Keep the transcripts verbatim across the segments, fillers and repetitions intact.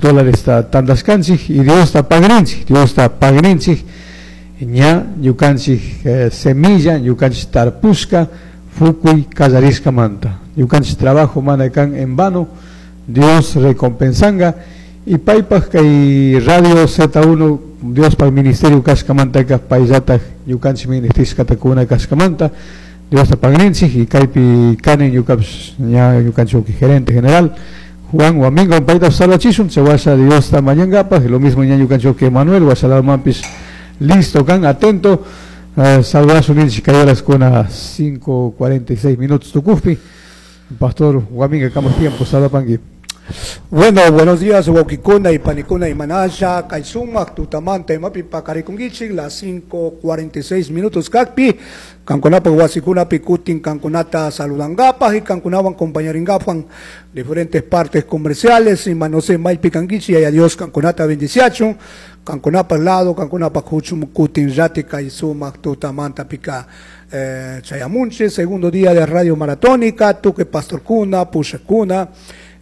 Dólares tandashkanchik y Diosta pagrinchik, Diosta pagrinchik, ña ñukanchik eh, semilla, ñukanchik tarpushka, fukuy manta. Ñukanchik trabajo mana kan en vano, Dios recompensanga y paypaj kay Radio Z uno Diospaj ministerio kashkamantaka payllataj ñukanchik ministishkata kuna kashkamanta Diosta pagrinchik y kaypi kani ñukapish ña ñukanchik gerente general Juan Waminga, payta saludachishun chawasha Diosta mañangapaj. Lo mismo ña ñukanchik Manuel wasalamanpish listo kan, atento uh, saludashun ninchik kay horas kuna cinco cuarenta y seis minutos tukujpi. Pastor Waminga, kambaj tiempo, saludapangui. Bueno, buenos días, wawkikuna y panikuna imanasha, kay sumak tutamanta imapi pakarikunkichik, las cinco cuarenta y seis minutos kakpi, kankunapa wasikunapi kutin kankunata saludangapaj y kankunawan compañaringapan diferentes partes comerciales, y no sé, maypi kankichik, y a Dios kankunata bendiciachun, kankunapa lado, kankunapa huchum kutin rati kay sumak tutamanta pika eh, chayamunchik, segundo día de Radio Maratónica, tukuy pastorkuna, pushakuna,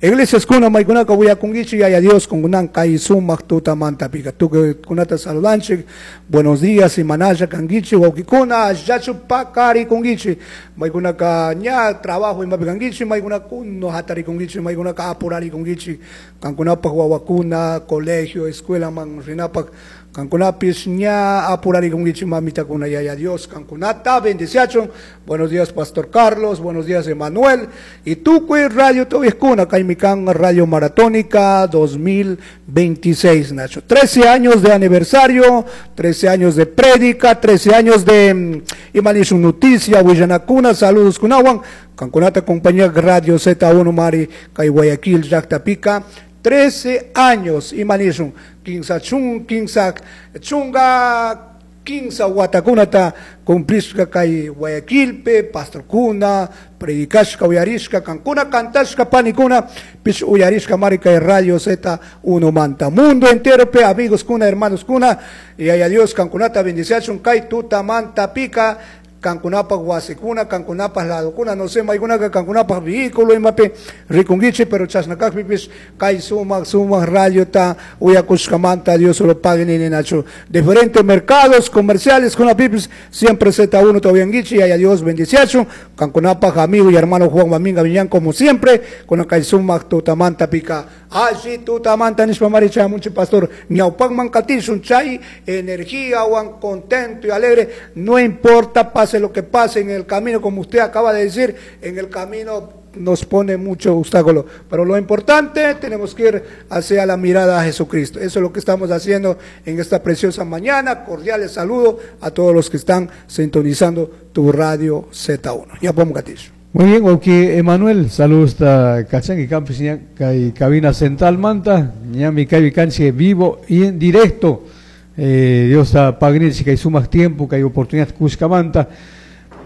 iglesias kuna maykunaka willakunkichik, yaya Dios kunkunan kay sumak tutamanta pika tukuy kunata saludanchik. Buenos días, imanalla kankichik, wawkikuna, ashachu pakarikunkichik, maykunaka ña trabajo imapi kankichik, maykunaka kuno hatarikunkichik, maykunaka apurarikunkichik kankunapaj wawakuna colegio, escuela man rinapaj, kankunapis ña apurarikunkichik, mamitakuna, yaya Dios kankunata bendiciachun. Buenos días, Pastor Carlos, buenos días, Emanuel, y tukuy radio kuna kaymi kan Radio Maratónica dos mil veintiséis, Nacho. trece años de aniversario, trece años de prédica, trece años de imanishun noticia, willanakuna, saludos kunawan, kankunata compañía Radio Z uno Mari, kay Guayaquil, llaktapika, trece años, imanishun, kinsa chun, kinsa chunga, kinsa watakunata cumplishka kay Guayaquilpe, pastorkuna, predicashka, uyarishka, kankuna cantashka, panikuna, pish uyarishka mari kay Radio Z uno manta. Mundo entero pe, amigos kuna, hermanos kuna, y ay Dios kankunata bendiciachun kay tutamanta pika, kankunapaj wasikuna, kankunapaj ladokuna, no sé, maykunaka kankunapaj vehículo imapi rikunkichik, pero chashnakakpipish kay sumak sumak radiota uyakushkamanta Dios lo pague nini, Nacho. Diferentes mercados comerciales kunapipis siempre Z uno todavía y ay Dios bendiciachu, kankunapaj amigo y hermano Juan Maminga Viñán, como siempre, con kay sumak tutamanta pika. Alli tutamanta nishpa mari chayamunchik, pastor, ñawpakman katishun chay energía, wan contento y alegre, no importa pase lo que pase en el camino, como usted acaba de decir, en el camino nos pone mucho obstáculo. Pero lo importante, tenemos que ir hacia la mirada a Jesucristo. Eso es lo que estamos haciendo en esta preciosa mañana. Cordiales saludos a todos los que están sintonizando tu radio Z uno. Ya podemos gatillo. Muy bien, ok, Emanuel, saludos a kachanki kanpish kay cabina central manta, ñami kaypi kanchik vivo y en directo. Eh, Diosta pagninchik kay sumak tiempo, kay oportunidad kushkamanta.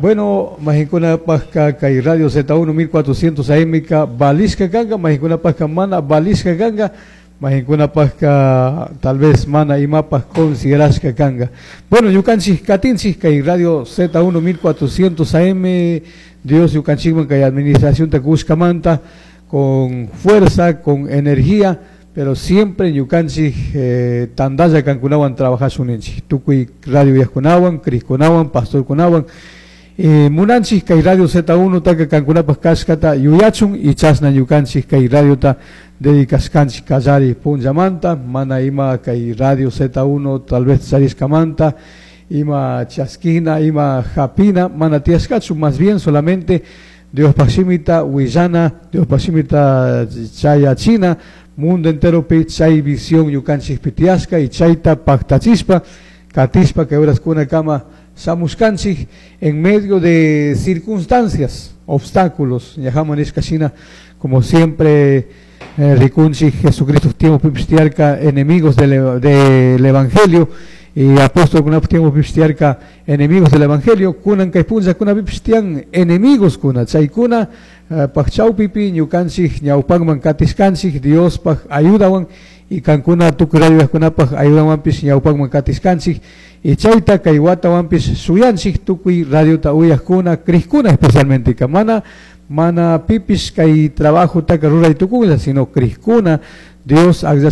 Bueno, mayqinkunapajka kay Radio Z uno mil cuatrocientos A M ka valishka kanka, mayqinkunapajka mana valishka kanka, mayqinkunapajka tal vez mana imapaj considerashka kanka. Bueno, ñukanchik katinchik kay Radio Z uno mil cuatrocientos A M, Dios ñukanchikman kay administración ta kushkamanta con fuerza, con energía, pero siempre ñukanchik eh, tandalla kankunawan trabajashun ninchik. Tukuy radio uyajkunawan, crijkunawan, pastorkunawan. Eh, munanchik kay Radio Z uno taka kankunapaj kashkata yuyachun y chasna ñukanchik kay radiota dedicashkanchik kallari punllamanta, mana ima kay Radio Z uno tal vez charishkamanta, ima chaskina, ima japina, mana tiyashkachu, más bien solamente Diospaj shimita willana, Diospaj shimita chayachina, mundo entero pi chay visión ñukanchikpi tiyashka y chayta paktachishpa, katishpa kay kama shamushkanchik en medio de circunstancias, obstáculos, ñajaman nishka shina, como siempre eh, rikunchik Jesucristo tiempo tiyarka enemigos del, del evangelio y apóstol kuna tiempo tiyarka enemigos del evangelio, kunan kay punlla kunapipish tiyan enemigos kuna, chaykuna uh, paj chawpipi ñukanchik ñawpakman katishkanchik Diospaj ayudawan y kankuna tukuy radiojkunapaj ayudawanpish ñawpakman katishkanchik y chayta kay watawanpish shuyanchik tukuy radiota uyajkuna, crijkuna especialmente ka mana mana pipish kay trabajo taka ruray tukunlla, sino crijkuna Dios akllashka.